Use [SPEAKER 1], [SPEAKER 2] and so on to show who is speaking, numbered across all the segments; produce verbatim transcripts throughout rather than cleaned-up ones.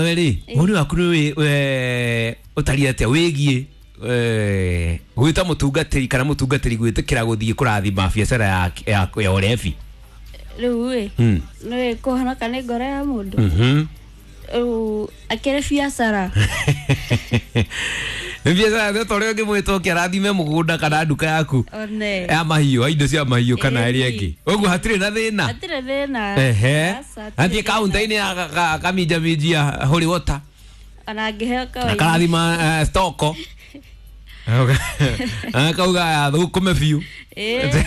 [SPEAKER 1] nawe rĩ, woni waku nĩ ũtariĩ atĩa wĩgiĩ gwĩta mũtungatĩri kana mũtungatĩri gwĩtĩkĩra gũthiĩ kũrathima biacara ya ya ya ũrebi?
[SPEAKER 2] Rĩu ĩ nĩ kũhonoka nĩ ngoro ya mũndũ. Rĩu akĩrĩ biacara.
[SPEAKER 1] Nĩ biacara nĩ ta ũrĩa ũngĩmwĩta ũke arathime mũgũnda kana nduka yaku
[SPEAKER 2] One.
[SPEAKER 1] ya mahiũ, indo cia mahiũ kana ĩrĩa ĩngĩ. Ũguo hatirĩ na thĩna.
[SPEAKER 2] Hatirĩ thĩna.
[SPEAKER 1] Ehe.
[SPEAKER 2] Aca, hatirĩ
[SPEAKER 1] Athiĩ
[SPEAKER 2] thĩna.
[SPEAKER 1] kaunta-inĩ akaminjaminjia holy water.
[SPEAKER 2] Ona angĩheo kawaida.
[SPEAKER 1] Akarathima eh, stoko. Akauga thũkũme biũ.
[SPEAKER 2] Ĩĩ.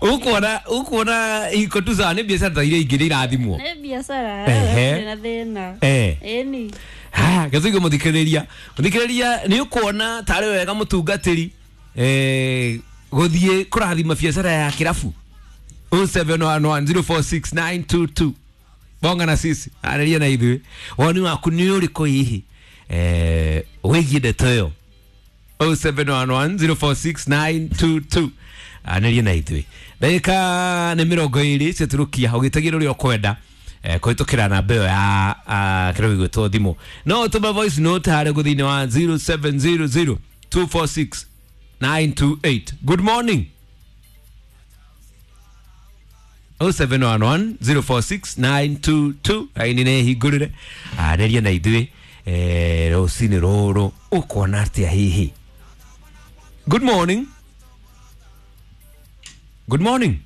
[SPEAKER 1] Ũkuona ũkuona iko tu sawa nĩ biacara ta iria ingĩ nĩ irathimwo.
[SPEAKER 2] Nĩ biacara.
[SPEAKER 1] Ehe.
[SPEAKER 2] Hatirĩ na thĩna.
[SPEAKER 1] Eh.
[SPEAKER 2] Ĩni.
[SPEAKER 1] Haya, gĩthuigo mũthikĩrĩria. Mũthikĩrĩria nĩ ũkuona tarĩ wega mũtungatĩri eh gũthiĩ kũrathima biacara ya kĩrabu. oh seven one one zero four six nine two two. Bonga na sisi, arĩria na ithuĩ. Woni waku nĩ ũrĩkũ hihi? Eh wĩgiĩ ndeto ĩyo. oh seven one one zero four six nine two two. Arĩria na ithuĩ. Ndagĩka nĩ mĩrongo ĩrĩ ciatũrũkia ũgĩtagĩra ũrĩa ũkwenda. Eh, kũhĩtũkĩra namba ĩyo ya ah, kĩrĩa gĩgwĩtwo thimũ. No ũtũme voice note harĩa ũguo thĩinĩ wa zero seven zero zero two four six nine two eight. Good morning. oh seven one one zero four six nine two two. Raini nĩ hingũrĩre. Arĩria na ithuĩ eh, rũcinĩ rũrũ ũkuona atĩa hihi? Good morning. Good morning.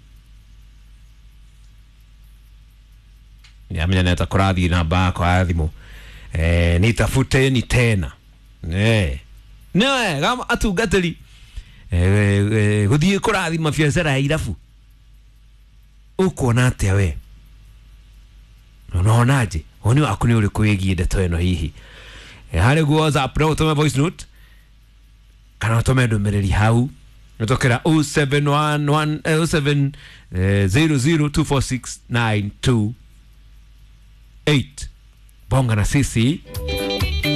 [SPEAKER 1] Niamenya neta kũrathiĩ namba yakwa ya thimũ. Eh, nitafuteni tena. Eh. Nĩ wega atungatĩri eh, eh, gũthiĩ kũrathima biacara ya irabu. Ũkuona atĩa we? Unaonaje? Woni waku nĩ ũrĩkũ wĩgiĩ ndeto ĩno hihi? Eh, harĩ guo WhatsApp no ũtũme voice note kana ũtũme ndũmĩrĩri hau gũtokera oh seven one one oh seven zero zero two four six nine two eight. Bonga na sisi.